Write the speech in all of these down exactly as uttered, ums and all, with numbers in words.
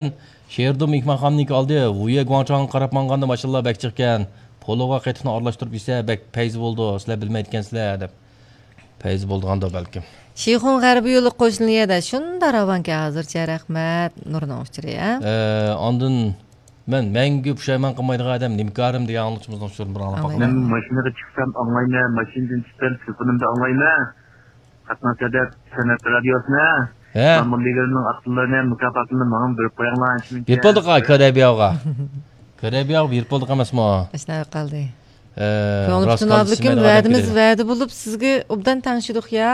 شېرىدۇ مېھمانخانىنىڭكى ئالدى ۋۇيە گۇاڭچاڭغا قاراپ ماڭغاندا ماشىنىلار بەك جىقكەن. پولۇغا قېتىقنى ئارىلاشتۇرۇپ يېسە بەك پەيزى بولىدۇ، سىلەر بىلمەيدىكەنسىلەر دەپ. پەيزى بولىدىغاندۇ بەلكىم. شىخۇن غەربىي يولى قوشنا يەردە شۇنداق راۋانكەن ھازىرچە، رەھمەت. نۇرنىڭ ئۇچۇرى، ھە؟ ئە، ئاندىن مەن مەڭگۈ پۇشايمان قىلمايدىغان ئادەم نېمىكارىم دېگەن ئاڭلىتىشىمىزنىڭ ئۇچۇرىنى بىر ئاڭلاپ باقايلى. مەن ماشىنىغا چىقسام ئاڭلايمەن، ماشىنىدىن چۈشسەم تېلېفونۇمدا ئاڭلايمەن. قاتناش ھەدەپ سەنئەت رادىيوسىنى ھە. مەمۇرلىرىنىڭ ئاتلىرىنى، مۇكاپاتلىرىنى ماڭا بېرىپ قويۇڭلار، شۇنچە. بېرىپ بولدۇق، كۆرەبىياغا. كۆرەبىياغا بېرىپ بولدۇق ئەمەسمۇ؟ ئاشۇنداق قالدى. ئە، كۆڭلۈم راست پۈتۈن قالدى، ئابلىكىم، سىمەن ۋەدىمىز ئەمەس. ۋەدە بولۇپ سىزگە ئوبدان تەڭشىدۇق يا.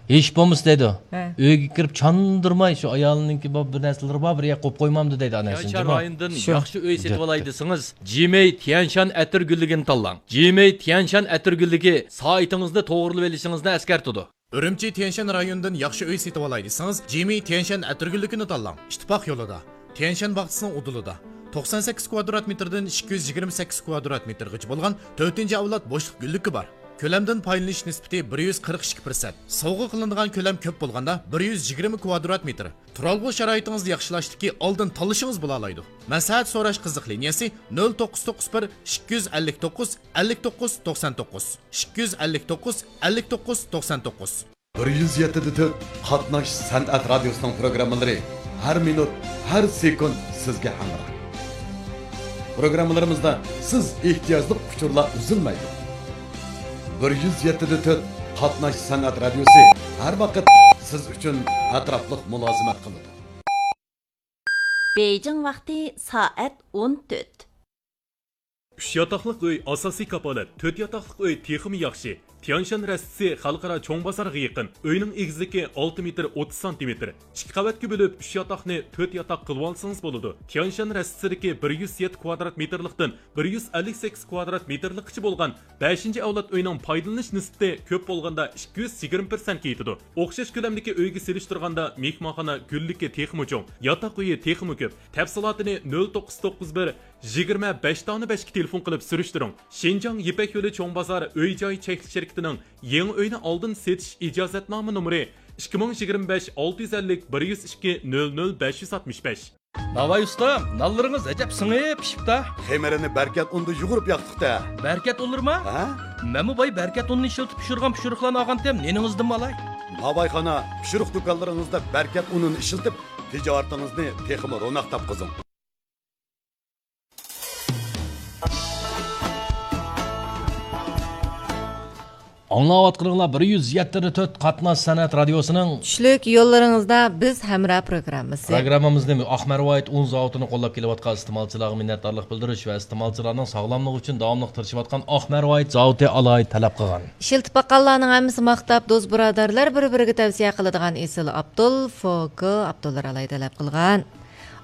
ھېچ بولمىسا دەيدۇ. ھە. ئۆيگە كىرىپ چاندۇرماي، شۇ ئايالىنىڭكى بار بىر نەرسىلىرى بار، بىر يەرگە قويۇپ قويمامدۇ دەيدۇ ئانا. تيەنشان رايونىدىن شۇ. ياخشى ئۆي سېتىۋالاي دېسىڭىز، جىمەي تيەنشان ئەتىر گۈللۈكىنى تاللاڭ. جىمەي تيەنشان ئەتىر گۈللۈكى سائىتىڭىزنى توغرىلىۋېلىشىڭىزنى ئەسكەرتىدۇ. ئۈرۈمچى تيەنشەن رايونىدىن ياخشى ئۆي سېتىۋالاي دېسىڭىز، جىمى تيەنشەن ئەتىرگۈللۈكىنى تاللاڭ. ئىتتىپاق يولىدا، تيەنشەن باغچىسىنىڭ ئۇدۇلىدا، توقسان سەككىز كۋادرات مېتىردىن ئىككى يۈز يىگىرمە سەككىز كۋادرات مېتىرغىچە بولغان تۆتىنچى ئەۋلاد بوشلۇق گۈللۈكى بار. كۆلەمدىن پايدىلىنىش نىسبىتى بىر يۈز قىرىق ئىككى پىرسەنت. سوۋغا قىلىنىدىغان كۆلەم كۆپ بولغاندا، بىر يۈز يىگىرمە كۋادرات مېتىر. تۇرالغۇ شارائىتىڭىزنى ياخشىلاشتىكى ئالدىن تاللىشىڭىز بولالايدۇ. مەسلىھەت سوراش قىزىق لىنىيەسى: نۆل توققۇز توققۇز بىر، ئىككى يۈز ئەللىك توققۇز، ئەللىك توققۇز توقسان توققۇز، ئىككى يۈز ئەللىك توققۇز، ئەللىك توققۇز توقسان توققۇز. بىر يۈز يەتتە دە تۆت قاتناش سەنئەت رادىيوسىنىڭ پروگراممىلىرى ھەر مىنۇت، ھەر سېكۇنت سىزگە ھەمراھ. پروگراممىلىرىمىزدا سىز ئېھتىياجلىق ئۇچۇرلار ئۈزۈلمەيدۇ. بىر يۈز يەتتە دە تۆت قاتناش سەنئەت رادىيوسى ھەر ۋاقىت سىز ئۈچۈن ئەتراپلىق مۇلازىمەت قىلىدۇ. بېيجىڭ ۋاقتى سائەت ئون تۆت. ئۈچ ياتاقلىق ئۆي ئاساسىي كاپالەت، تۆت ياتاقلىق ئۆي تېخىمۇ ياخشى. تيانشان رەستىسى خەلقئارا چوڭ بازارغا يېقىن. ئۆينىڭ ئېگىزلىكى ئالتە مېتىر ئوتتۇز سانتىمېتىر. ئىككى قەۋەتكە بۆلۈپ، ئۈچ ياتاقنى تۆت ياتاق قىلىۋالسىڭىز بولىدۇ. تيانشان رەستىسىدىكى بىر يۈز يەتتە كۋادرات مېتىرلىقتىن بىر يۈز ئەللىك سەككىز كۋادرات مېتىرلىققىچە بولغان بەشىنچى ئەۋلاد ئۆينىڭ پايدىلىنىش نىسبىتى كۆپ بولغاندا ئىككى يۈز يىگىرمە پىرسەنتكە يېتىدۇ. ئوخشاش كۆلەمدىكى ئۆيگە سېلىشتۇرغاندا مېھمانخانا گۈللۈكى تېخىمۇ چوڭ، ياتاق ئۆيى تېخىمۇ كۆپ. تەپسىلاتىنى نۆل توققۇز توققۇز بىر، يىگىرمە بەش دانە بەشكە تېلېفون قىلىپ سۈرۈشتۈرۈڭ. شىنجاڭ يىپەك يولى چوڭ بازار ئۆي جاي چەكلىك شىركىتىنىڭ يېڭى ئۆينى ئالدىن سېتىش ئىجازەتنامە نومۇرى ئىككى مىڭ يىگىرمە بەش، ئالتە يۈز ئەللىك، بىر يۈز ئىككى، نۆل نۆل، بەش يۈز ئاتمىش بەش. ناۋاي ئۇستام، نانلىرىڭىز ئەجەب سىڭىپ پىشىپتا. خېمىرىنى بەركەت ئۇندا يۇغۇرۇپ ياقتۇقتا. بەركەت ئۇنلىرىما؟ ھە؟ مەنمۇ باي بەركەت ئۇنىنى ئىشلىتىپ پىشۇرغان پىشۇرۇقلارنى ئالغانتىم، نېنىڭىزدىنمۇ ئالاي؟ ناۋايخانا، پىشۇرۇق دۇكانلىرىڭىزدا بەركەت ئۇنىنى ئىشلىتىپ، تىجارىتىڭىزنى تېخىمۇ روناق تاپقۇزۇڭ. ئاڭلاۋاتقىنىڭلار بىر يۈز يەتتە دە تۆت قاتناش سەنئەت رادىيوسىنىڭ چۈشلۈك يوللىرىڭىزدا بىز ھەمراھ پروگراممىسى. پروگراممىمىزنى ئاق مەرۋايىت ئۇن زاۋۇتىنى قوللاپ كېلىۋاتقان ئىستېمالچىلارغا مىننەتدارلىق بىلدۈرۈش ۋە ئىستېمالچىلارنىڭ ساغلاملىقى ئۈچۈن داۋاملىق تىرىشىۋاتقان ئاق مەرۋايىت زاۋۇتى ئالاھىدە تەلەپ قىلغان. ئىشلىتىپ باققانلارنىڭ ھەممىسى ماختاپ، دوست بۇرادەرلەر بىر-بىرىگە تەۋسىيە قىلىدىغان ئېسىل ئابدۇل، فوكو ئابدۇللار ئالاھىدە تەلەپ قىلغان.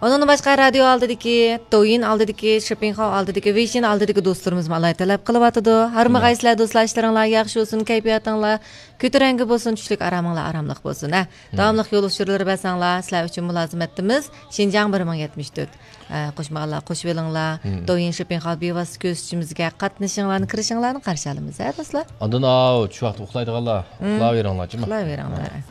ئۇنىڭدىن باشقا، رادىيو ئالدىدىكى، دويىن ئالدىدىكى، شىپىڭخاۋ ئالدىدىكى، ۋېيشىن ئالدىدىكى دوستلىرىمىزمۇ ئالاھىدە تەلەپ قىلىۋاتىدۇ. ھارمىغايسىلەر، دوستلار، ئىشلىرىڭلار ياخشى بولسۇن، كەيپىياتىڭلار كۆتۈرەڭگۈ بولسۇن، چۈشلۈك ئارامىڭلار ئاراملىق بولسۇن، ھە. مم. داۋاملىق يول ئۇچۇرلىرى بەرسەڭلار، سىلەر ئۈچۈن مۇلازىمەتتىمىز. شىنجاڭ بىر مىڭ يەتمىش تۆت. ئە، قوشمىغانلار قوشۇۋېلىڭلار. مم. دويىن شىپىڭخاۋ بىۋاسىتە كۆرسىتىشىمىزگە قاتنىشىڭلارنى، كىرىشىڭلارنى قارشى ئالىمىز، ھە، دوستلار؟ ئاندىن، ئاۋۇ، چۈش ۋاقتى ئۇخلايدىغانلار، مم. ئۇخلاۋېرىڭلار، جۇمۇ. ئۇخلاۋېرىڭلار. ھە.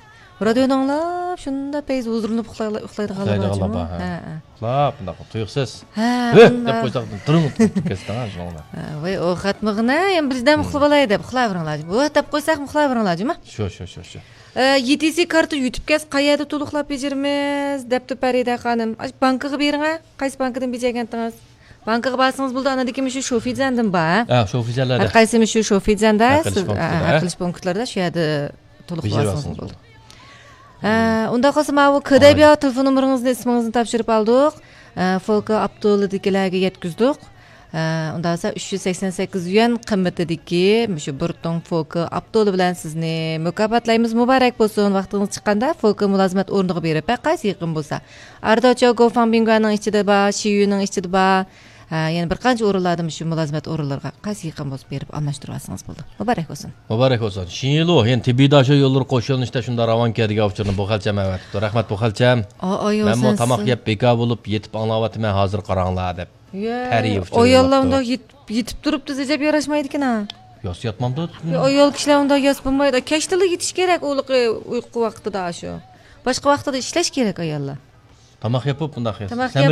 رادىيونى ئاڭلاپ، شۇنداق پەيز ھۇزۇرلىنىپ ئۇخلايلا-، ئۇخلايدىغانلار بار، ئۇخلايدىغانلار جۇمۇ. بار، ھە. ھە، ھە. ئۇخلاپ، بۇنداق تۇيۇقسىز، ھە، ھۆھ دەپ قويساق، دىرىڭ ئۇخلاپ كەتسىڭىز، شۇنىڭ بىلەن. ھە، ۋاي، ئۇ خەتمىغىنە، يەنە بىردەم مم. ئۇخلىۋالاي دەپ، ئۇخلاۋېرىڭلار جۇمۇ. ھۆھ دەپ قويساق، ئۇخلاۋېرىڭلار جۇمۇ. شۇ، شۇ، شۇ، شۇ. ئە، يېتىسى كارتا يۈتۈپ كەتسە، قەيەردە تولۇقلاپ بېجىرىمىز؟ دەپتۇ پەرىدە خانىم. ئاشۇ بانكىغا بېرىڭە، قايسى بانكىدىن بېجەرگەنتىڭىز؟ بانكىغا بارسىڭىز بولىدۇ، ئاندىن كېيىن مۇشۇ شوفىجيەندىن بار. ھە، شوفىجيەنلەردە. ھەر قايسى مۇشۇ شوفىجيەندە ھەل قىلىش سىز، پونكىتلىرىدا، ھە، ھە؟ ھەل قىلىش پونكىتلىرىدا شۇ يەردە تولۇق بېجىرىۋالسىڭىز بولىدۇ. ھە، ئۇنداق بولسا ماۋۇ كۆدەيبىيا تېلېفون نومۇرىڭىزنى ئىسمىڭىزنى تاپشۇرۇپ ئالدۇق. ھە، فوكا ئاپتولىدىكىلەرگە يەتكۈزدۇق. ھە، ئۇنداق بولسا ئۈچ يۈز سەكسەن سەككىز يۈەن قىممىتىدىكى مۇشۇ بىر توڭ فوكا ئاپتولى بىلەن سىزنى مۇكاپاتلايمىز. مۇبارەك بولسۇن. ۋاقتىڭىز چىققاندا فوكا مۇلازىمەت ئورنىغا بېرىپ، ھەر قايسى يېقىن بولسا، ئارىداچياۋ گوفاڭبىڭگۇەنىڭ ئىچىدە بار، شىيۈنىڭ ئىچىدە بار. ھە، يەنە بىر قانچە ئورۇنلاردا مۇشۇ مۇلازىمەت ئورۇنلىرىغا قايسى يېقىن بولسا بېرىپ ئالماشتۇرۇۋالسىڭىز بولىدۇ. مۇبارەك بولسۇن. مۇبارەك بولسۇن. شىنلۇ، يەنى تېببىي داشو يوللىرى قوش يۆنىلىشتە شۇنداق راۋانكەن دېگەن ئۇچۇرنى بۇ خەلچەم ئەۋەتىپتۇ. رەھمەت بۇ خەلچەم. ئا، ئايۇ، مەنمۇ سەنسىز. تاماق يەپ بىكار بولۇپ يېتىپ ئاڭلاۋاتىمەن، ھازىر قاراڭلار دەپ. يە، پەرى ئۇچۇرى ئاياللار يوللاپتۇ. ئۇنداق يېتىپ، يېتىپ تۇرۇپتۇ، ئەجەب ياراشمايدىكەن ھە. ياس ياتمامدۇ؟ يا، ئايال كىشىلەر ئۇنداق ياس بولمايدۇ. كەچتىلا يېتىش كېرەك، ئۇلىقى ئۇيقۇ ۋاقتىدا شۇ. باشقا ۋاقتىدا ئىشلەش كېرەك ئاياللار. تاماق يېپىپ، مۇنداق يەيسىز. تاماق سەمرىپ